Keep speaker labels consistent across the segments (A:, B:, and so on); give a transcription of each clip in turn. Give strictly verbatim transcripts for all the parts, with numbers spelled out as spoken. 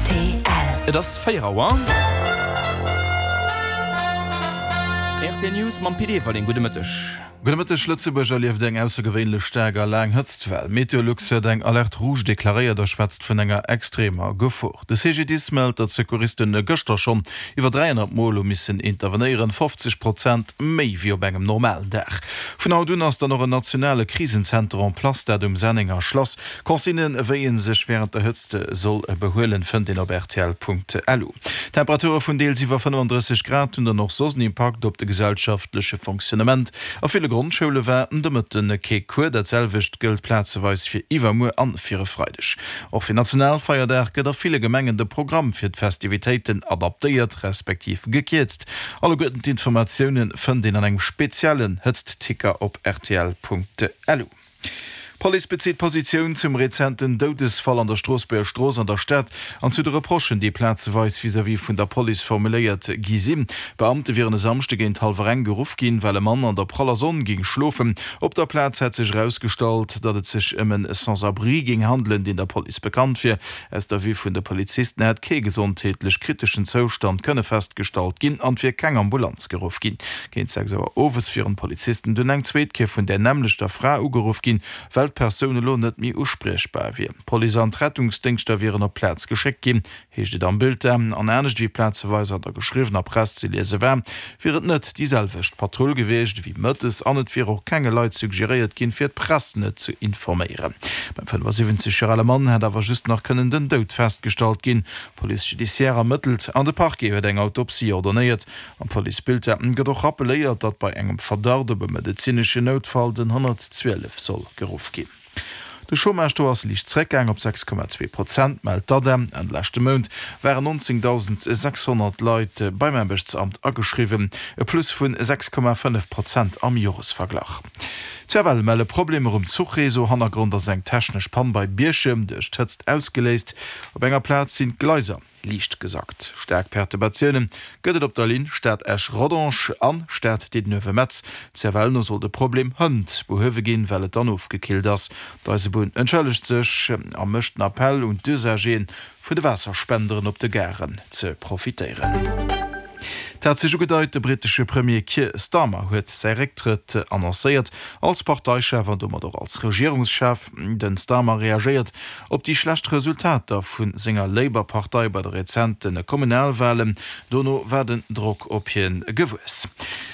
A: Rtl.
B: Et ass véier Auer. Rtl News mam Pit Everling. Gudde Mëtteg.
C: Gudde Mëtteg. Lëtzebuerg erlieft eng aussergewéinlech staark a laang Hëtztwell. Meteolux huet eng Alerte rouge deklaréiert a schwätzt vun enger extremer Gefor. De C G D I S mellt, datt Secouristen gëschter schonn iwwer dräihonnert Mol hu missen intervenéieren, fofzeg Prozent méi wéi op engem normalen Dag. Vun haut un ass dann och en nationale Krisenzenter en place, dat um Sennenger Schlass. Consignen, wéi ee sech wärend der Hëtzt soll behuelen, fënnt een op rtl.lu. Temperature vun deels iwwer fënnefandrësseg Grad hunn dann och soss en Impakt op de gesellschaftleche Fonctionnement. A ville Grondschoule war de Mëtten kee Cours. Dat selwecht gëllt plazeweis fir iwwermuer an fir e Freideg. Och fir Nationalfeierdag gëtt a ville Gemengen de Programm fir d'Festivitéiten adaptéiert, respektiv gekierzt. Alleguerten d'Informatioune fënnt een an engem speziellen Hëtztticker op rtl.lu. D'Police bezitt Positioun zum rezenten Doudesfall an der Stroossbuerger Strooss an der Stad an zu de Reprochen, déi plazeweis vis-à-vis vun der Police formuléiert gi sinn. Beamte wieren e Samschde géint hallwer eng geruff ginn, well e Mann an der praller Sonn géing schlofen. Op der Plaz hätt sech erausgestallt, datt et sech ëm en Sans-abri géing handelen, deen der Police bekannt wier. Aus der Vue vun de Polizisten hätt kee gesondheetlech kriteschen Zoustand kënne festgestallt ginn an et wier keng Ambulanz geruff ginn. Géint sechs Auer owes wieren d'Polizisten dunn eng zweet Kéier vun där nämmlechter Fra ugeruff ginn, well d'Persoun elo net méi uspriechbar wier. D'Police an d'Rettungsdéngschter wieren op d'Plaz geschéckt ginn, heescht et am Bulletin. An anescht wéi plazeweis an der geschriwwener Press ze liese war, wier et net déi selwecht Patrull gewiescht ewéi mëttes an et wier och kenge Leit suggeréiert ginn, fir d'Press net ze informéieren. Beim fënnefasiwwenzeg Joer ale Mann hätt awer just nach kënnen den Doud festgestallt ginn. D'Police judiciaire ermëttelt an de Parquet huet eng Autopsie ordonéiert. Am Policebulletin gëtt och rappeléiert, datt bei engem Verdacht op e medezineschen Noutfall den honnertzwielef soll geruff ginn. De Chômage do ass liicht zeréckgaang op sechs Komma zwee Prozent, mellt d'ADEM. Enn leschte Mount waren nonzéngdausend sechshonnert Leit beim Aarbechtsamt ageschriwwen, e Plus vun sechs Komma fënnef Prozent am Joresverglach. D'C F L melle Problemer um Zuchreseau. Hannergrond ass eng technesch Pann bei Bierchem, duerch d'Hëtzt ausgeléist. Op enger Plaz sinn d'Gleiser liicht gesackt. Staark Perturbatioune gëtt et op der Linn Stad-Esch-Rodange an Stad-Diddenuewe-Metz. C F L no soll de Problem hënt behuewe ginn, well et dann ofgekillt ass. D'Eisebunn entschëllegt sech a mécht den Appell un d'Usageren, vun de Waasserspenderen op de Garen ze profitéieren. Et hat sech ugedeit, de brittesche Premier Keir Starmer huet säi Récktrëtt annoncéiert, als Parteichef an domat och als Regierungschef. Den Starmer reagéiert op déi schlecht Resultater vu senger Labour-Partei bei de rezente Kommunalwalen. Dono war den Drock op hien gewuess.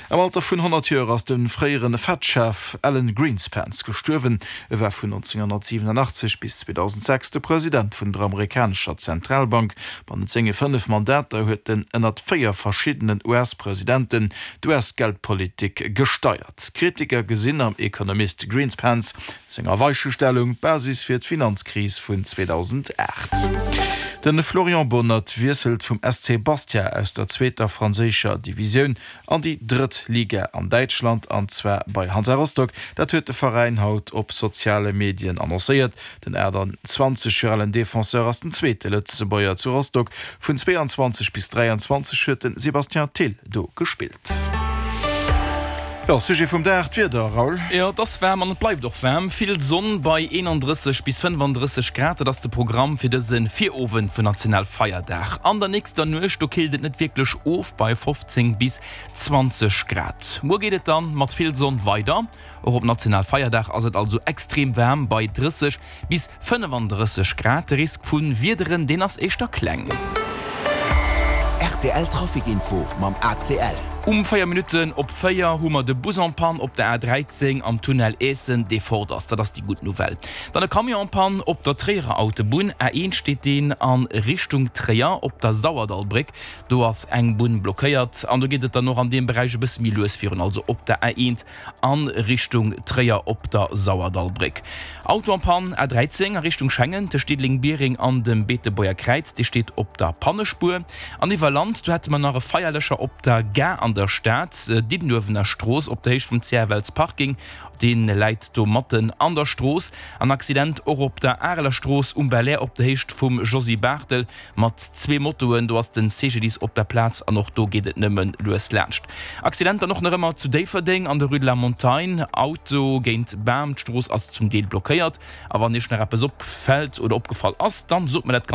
C: Am Alter vun honnert Joer ass de fréiere Fed-Chef Alan Greenspan gestuerwen. E war vun nonzénghonnertsiwenunachtzeg bis zweedausendsechs de President vun der amerikanescher Zentralbank. Bannent senge fënnef Mandater huet en ënnert véier verschiddenen U S-Presidenten d'U S-Geldpolitik gesteiert. Kritiker gesinn am Ekonomist Greenspans senger Weichestellung d'Basis fir d'Finanzkris vun zweedausendacht. De Florian Bonnert wiesselt vum S C Bastia aus der zweeter franséischer Divisioun an déi drëtt Liga an Däitschland, an zwar bei Hansa Rostock. Dat huet de Veräin haut op soziale Medien annoncéiert. Den aachtanzwanzeg Joer alen Defenseur ass den zweete Lëtzebuerger zu Rostock. Vun zweeanzwanzeg bis dräianzwanzeg huet de Sébastien Thill do gespillt. Jo, Sujet vum Dag, d'Wieder, Raoul.
B: Jo, et ass waarm an et bleift och waarm. Vill Sonn bei eenandrësseg bis fënnefandrësseg Grad, dat ass de Programm fir dëse Virowend vun Nationalfeierdag. An der nächster Nuecht, do killt et net wierklech of bei fofzéng bis zwanzeg Grad. Muer geet et dann mat vill Sonn weider. Och op Nationalfeierdag ass et also extrem waarm bei drësseg bis fënnefandrësseg Grad. De Risk vu Wiederen, deen ass éischter kleng.
A: R T L Trafic Info mam A C L.
B: Um véier Minutten op véier hu mer de Bus en panne op der A dräizéng am Tunnel Eessen, dee fort ass. Dat ass déi gutt Nouvelle. Dann e Camion en panne op der Tréierer Autobunn, A eent steet deen a Richtung Tréier op der Sauerdallbréck. Do ass eng Bunn blockéiert an do geet et dann och an deem Beräich e bësse méi lues virun, also op der A eent a Richtung Tréier op der Sauerdallbréck. Auto en panne, A dräizéng a Richtung Schengen tëscht Diddeleng-Biereng an dem Beetebuerger Kräiz, dee steet op der Pannespuer. An iwwer Land, do hätte mer nach e Feierlëscher op der Gare an der Stad, Diddenuewener Strooss, op der Héicht vum C F L's Parking, dee läit do matten an der Strooss. An Accident och op der Areler Strooss um Belair op der Héicht vum Josy Barthel mat zwee Motoen, do ass den C G D I S op der Plaz an och do geet et nëmmen lues laanscht. Accident dann och nach ëmmer zu Déifferdeng an der Rue de la Montagne, Auto géint Bam, d'Strooss ass zum Deel blockéiert. A wann iech nach eppes opfält oder opgefall ass, dann sot mer dat.